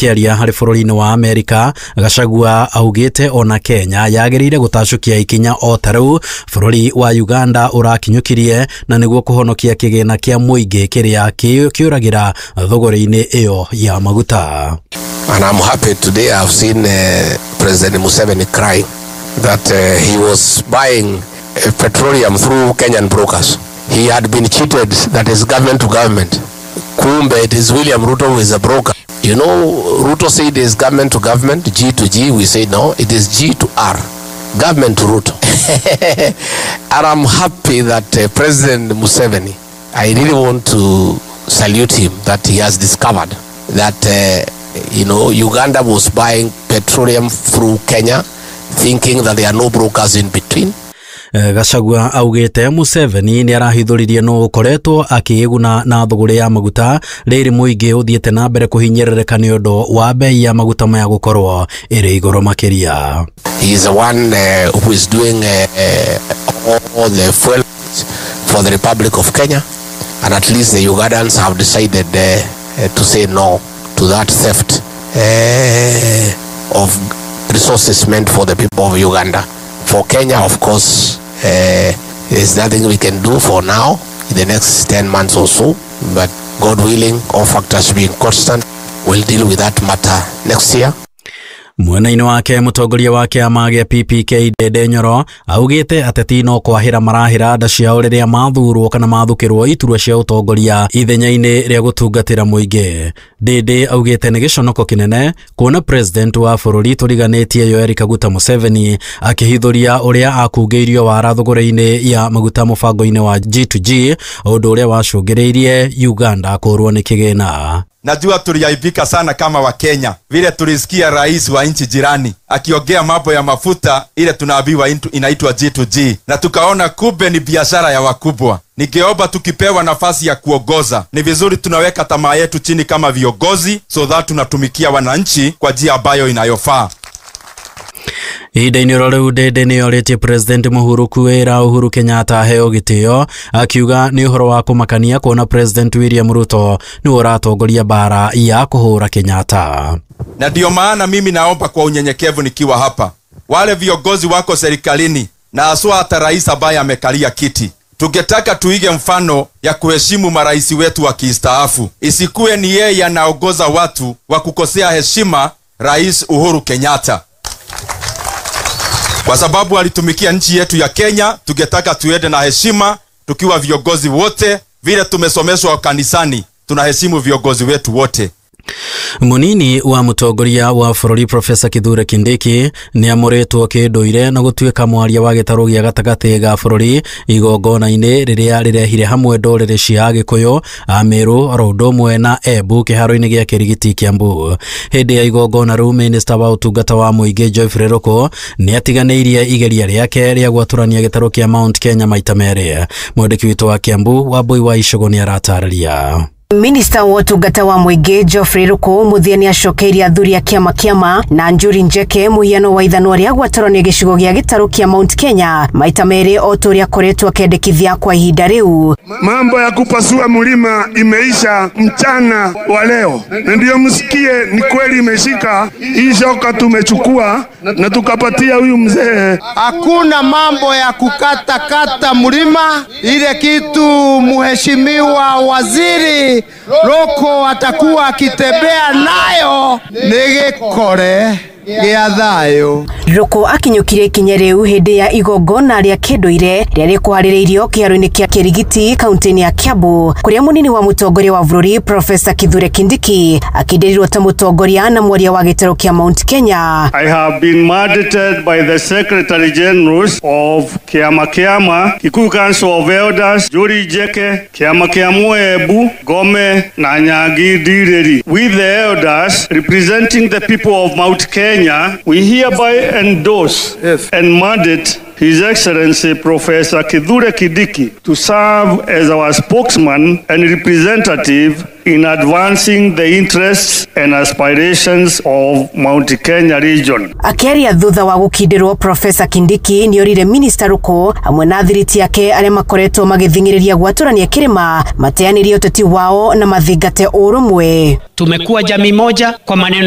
Akiaria harĩ bũrũri-inĩ wa Amerika, Gachagua augĩte ona Kenya yagĩrĩire gũtacũkia ikinya o ta rĩu bũrũri wa Uganda ũrakinyũkirie na nĩguo kũhonokia kĩgĩna kĩa mũingĩ kĩrĩa kĩũragĩra thogora-inĩ ĩyo ya maguta. And I'm happy today I've seen President Museveni crying that he was buying petroleum through Kenyan brokers. He had been cheated, that is government to government. Kumbe, it is William Ruto who is a broker. You know, Ruto said it is government to government, G to G. We say no, it is G to R, government to Ruto. And I'm happy that President Museveni, I really want to salute him that he has discovered that you know, Uganda was buying petroleum through Kenya, thinking that there are no brokers in between. Gachagua augĩte Museveni nĩ arahithũririe nũ ũkoretwo akĩĩguna na thũgũrĩ ya maguta rĩrĩ mũingĩ ũthiĩte na mbere kũhinyĩrĩrĩka nĩ ũndũ wa bei ya maguta maya gũkorwo ĩrĩ igũrũ makĩria. He is the one who is doing all the fuel for the Republic of Kenya, and at least the Ugandans have decided to say no to that theft of resources meant for the people of Uganda. For Kenya, of course, there's nothing we can do for now, in the next 10 months or so. But God willing, all factors being constant, we'll deal with that matter next year. Mwena-inĩ wake mũtongoria wa kĩama gĩa PPK Ndindi Nyoro augĩte ateti no kwahĩra marahĩra nda ciao rĩrĩa mathurwo kana mathukĩrwo iturwa cia ũtongoria ithenya-inĩ rĩa gũtungatĩra mũingĩ. Ndindi augĩte nĩ gĩconoko kĩnene kuona president wa bũrũri tũriganĩtie Yoweri Kaguta Museveni akĩhithũria ũrĩa akungĩirio wara thogora-inĩ ya maguta mũbango-inĩ wa G2G, ũndũ ũrĩa wacũngĩrĩirie Uganda kũrwo nĩ kĩgĩna. Najua tuliaibika sana kama wa Kenya vile tulisikia rais wa nchi jirani akiongea mambo ya mafuta ile tunaambiwa inaitwa G2G, na tukaona kumbe ni biashara ya wakubwa. Ningeomba tukipewa nafasi ya kuongoza, ni vizuri tunaweka tamaa yetu chini kama viongozi, so that tunatumikia wananchi kwa njia ambayo inayofaa. Ihinda-inĩ oro rĩu Ndindi nĩ orĩtie President Mũhuru kwĩra Uhuru Kenyatta aheo gĩtĩo, akiuga nĩ ũhoro wa kũmakania kuona President William Ruto nĩwe ũratongoria mbara ya kũhũra Kenyatta. Na ndio maana mimi naomba kwa unyenyekevu nikiwa hapa, wale viongozi wako serikalini na haswa hata rais ambaye amekalia kiti, tungetaka tuige mfano ya kuheshimu marais wetu wa kistaafu. Isikuwe ni yeye anaongoza watu wa kukosea heshima Rais Uhuru Kenyatta. Kwa sababu alitumikia nchi yetu ya Kenya, tungetaka tuende na heshima tukiwa viongozi wote, vile tumesomeshwa kanisani, tunaheshimu viongozi wetu wote. Munini wa mũtongoria wa bũrũri Profesa Kithure Kindiki nĩ amũrĩtwo kĩndũire na gũtuĩka mwaria wa gĩtarũ gĩa gatagatĩ ga bũrũri igongona-inĩ rĩrĩa rĩrehire hamwe ndũrĩrĩ cia Agĩkũyũ, Amĩrũ oro ũndũ ũmwe na Embu kĩharo-inĩ gĩa Kĩrigiti Kĩambu. Hĩndĩ ya igongona rĩu minista wa ũtungata wa mũingĩ Geoffrey Ruku nĩ atiganĩirie igeria rĩake rĩa gwatũrania gĩtarũ kĩa Mount Kenya maita merĩ. Mwandĩki witũ wa Kĩambu Wambui wa Icũgũ nĩ aratarĩria. Minista wa ũtungata wa mũingĩ Geoffrey Ruku mũthia nĩ acokeirie athuri a kĩama kĩama na Njuri Njeke mũhiano wa ithanwa rĩa gwatũranio gĩcigo gĩa gĩtarũ kĩa Mount Kenya maita merĩ o ta ũrĩa akoretwo akĩendekithia kwa ihinda rĩu. Mambo ya kupasua mlima imeisha mchana wa leo, na ndio msikie ni kweli imeshika hii shoka tumechukua na tukapatia huyu mzee. Hakuna mambo ya kukata kata mlima, ile kitu mheshimiwa waziri Ruku atakuwa akitembea nayo nĩ gĩkore gĩa thayũ. Ruku akinyũkirie ikinya rĩu hĩndĩ ya igongona rĩa kĩndũire rĩrĩa rĩkũharĩrĩirio kĩharo-inĩ kĩa Kĩrigiti kaunti-inĩ ya Kiambu, kũrĩa mũnini wa mũtongoria wa bũrũri Profesa Kithure Kindiki akĩndĩrirwo ta mũtongoria na mwaria wa gĩtarũ kĩa Mount Kenya. I have been mandated by the Secretary Generals of Kiama Kiama, Kikuyu Council of Elders, Njuri Njeke, Kiama Kia Muebu, Gome na Nyagi Ndiriri. With the elders representing the people of Mount Kenya, we hereby endorse and mandate His Excellency Professor Kithure Kindiki to serve as our spokesman and representative in advancing the interests and aspirations of Mount Kenya region. Akiaria thutha wa gũkindĩrwo, Professor Kindiki nĩorire Minister Ruku hamwe na thiriti yake arĩa makoretwo magĩthing'ĩrĩria gwatũrania kĩrĩma mateanĩrie ũteti wao na mathingate ũrũmwe. Tumekuwa jamii moja kwa maneno